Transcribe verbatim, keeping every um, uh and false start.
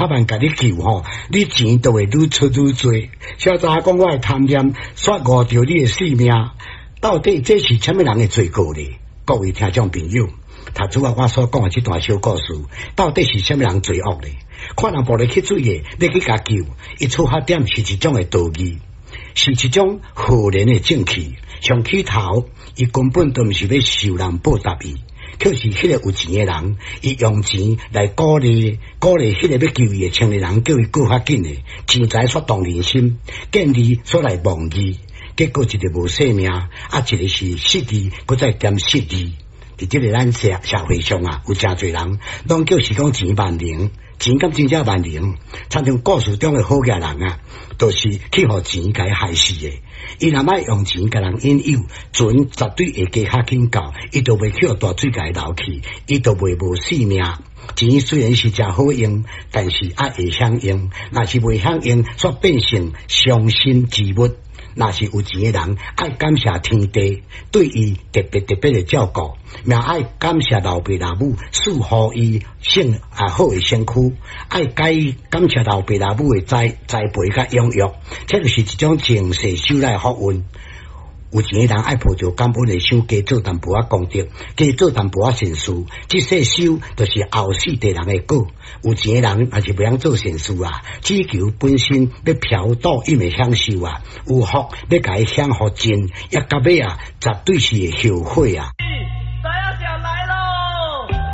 百萬共你救吼，你錢就會愈出愈濟。小查講我的貪念，煞誤著你的性命，到底這是啥物人的罪過呢？各位聽眾朋友，頭拄仔我所講的這段小故事，到底是啥物人罪惡呢？看人跋落去水的，欲去共救，伊出發點是一種的道義，是一種浩然的正氣。上起頭，伊根本都毋是欲受人報答伊，卻是彼個有錢的人，伊用錢來鼓勵鼓勵彼個欲救伊的青年人，叫伊過較緊的，錢財煞動人心，見利煞來忘義，結果一個無性命，啊一個是失義，閣再兼失義。佇這个咱社社會上啊，有誠濟人，攏叫是講錢萬能，錢敢真正萬能？親像故事中的好額人啊，就是去予錢共伊害死的。伊若愛用錢共人引誘，船絕對會加較緊到，伊就袂去予大水共伊流去，伊就袂無性命。錢雖然是誠好用，但是愛會曉用，若是袂曉用，煞變成傷身之物。若是有錢的人，愛感謝天地對伊特別特別的照顧，也愛感謝老爸老母賜予伊性啊好的身軀，愛感感謝老爸老母的栽栽培佮養育，這就是一種前世修來的福運。有錢的人愛抱著感恩的心，加做淡薄仔功德，加做淡薄仔善事，這世修就是後世地人的果。有錢的人也是袂曉做善事啊，只求本身欲嫖賭飲的享受啊，有福欲共伊享予盡，抑到尾啊，絕對是會後悔啊。